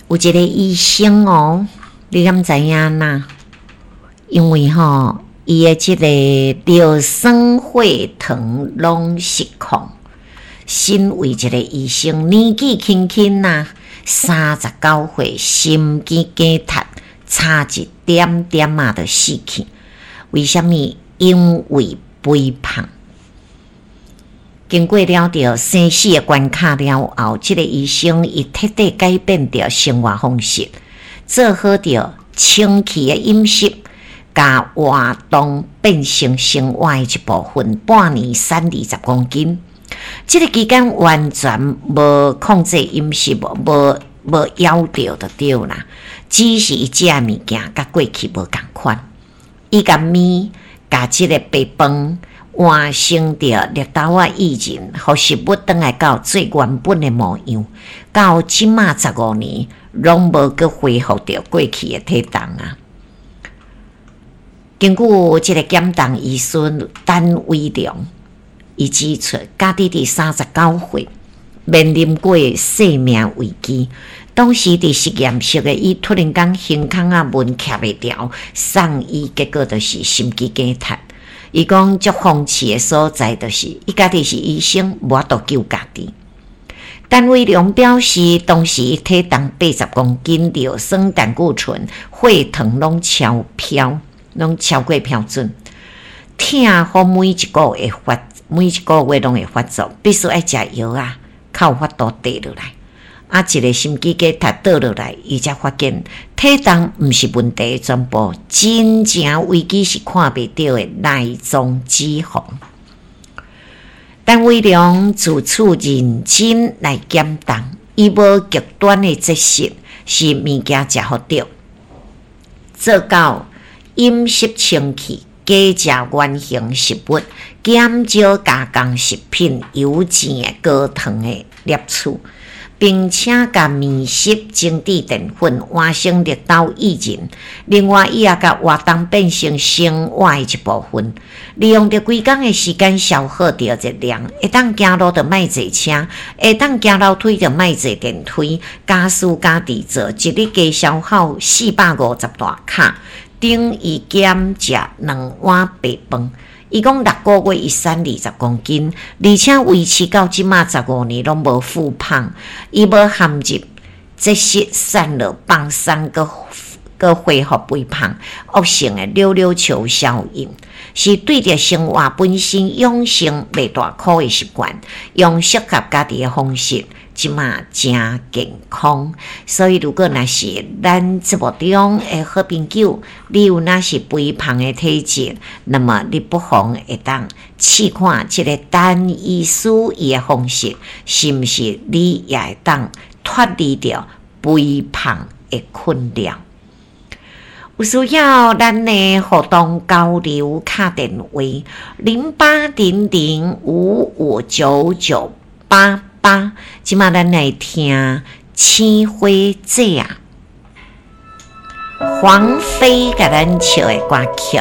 有一个醫生哦，你敢知影哪？因為吼，伊的這个尿酸血糖攏失控。身為一個醫生，年紀輕輕啊，39歲，心肌梗塞，差一點點仔就死去。為啥物？因為肥胖。經過了著生死的關卡了後，這个醫生伊徹底改變著生活方式，做好著清氣的飲食，共活動變成生活的一部分。半年瘦20公斤，這个期間完全無控制飲食，無無枵著就對啦。只是伊食的物件佮過去無仝款，伊共麵共這个白飯換成著綠豆仔薏仁，予食物轉來到最原本的模樣。到這馬15年，攏無閣恢復著過去的體重啊！根據這个減重醫師陳威良，伊指出，家己佇39歲面臨過生命危機。當時佇實驗室的伊突然間胸腔仔門徛袂牢，送醫結果就是心肌梗塞。伊講足諷刺的所在，就是伊家己是醫生，無法度救家己。陳威良表示，當時伊體重80公斤，尿酸、膽固醇、血糖攏超標，攏超過標準。疼予每一個月發，每一個月攏會發作，必須愛食藥仔，較有法度綴落來。啊，一个心肌梗塞倒落來，伊才發現體重毋是問題的全部，真正危機是看袂著的內臟脂肪。陳威良自此認真來減重，伊無極端的節食，是物件食予著，做到飲食清氣，加食原型食物，減少加工食品、油煎的、高糖的攝取。並且共麵食精緻澱粉換成綠豆薏仁，另外伊也共活動變成生活的一部分，利用著規工的時間消耗著熱量，會當行路就莫坐車，會當行樓梯就莫坐電梯，家事家己做，一日加消耗450大卡，等於減食兩碗白飯。伊講6個月伊瘦20公斤，而且維持到這馬15年攏無復胖。伊無陷入節食瘦落放鬆，閣閣恢復肥胖，惡性的溜溜球效應，是對著生活本身養成袂大苦的習慣，用適合家己的方式，這馬誠健康。所以，如果若是咱節目中的好朋友，你有若是肥胖的體質，那麼你不妨會當試看這个陳醫師伊的方式，是毋是你也會當脫離著肥胖的困擾？有需要咱的互動交流，敲電話0800559988。這馬咱來聽《青花姐》啊，黃妃共咱唱的歌曲。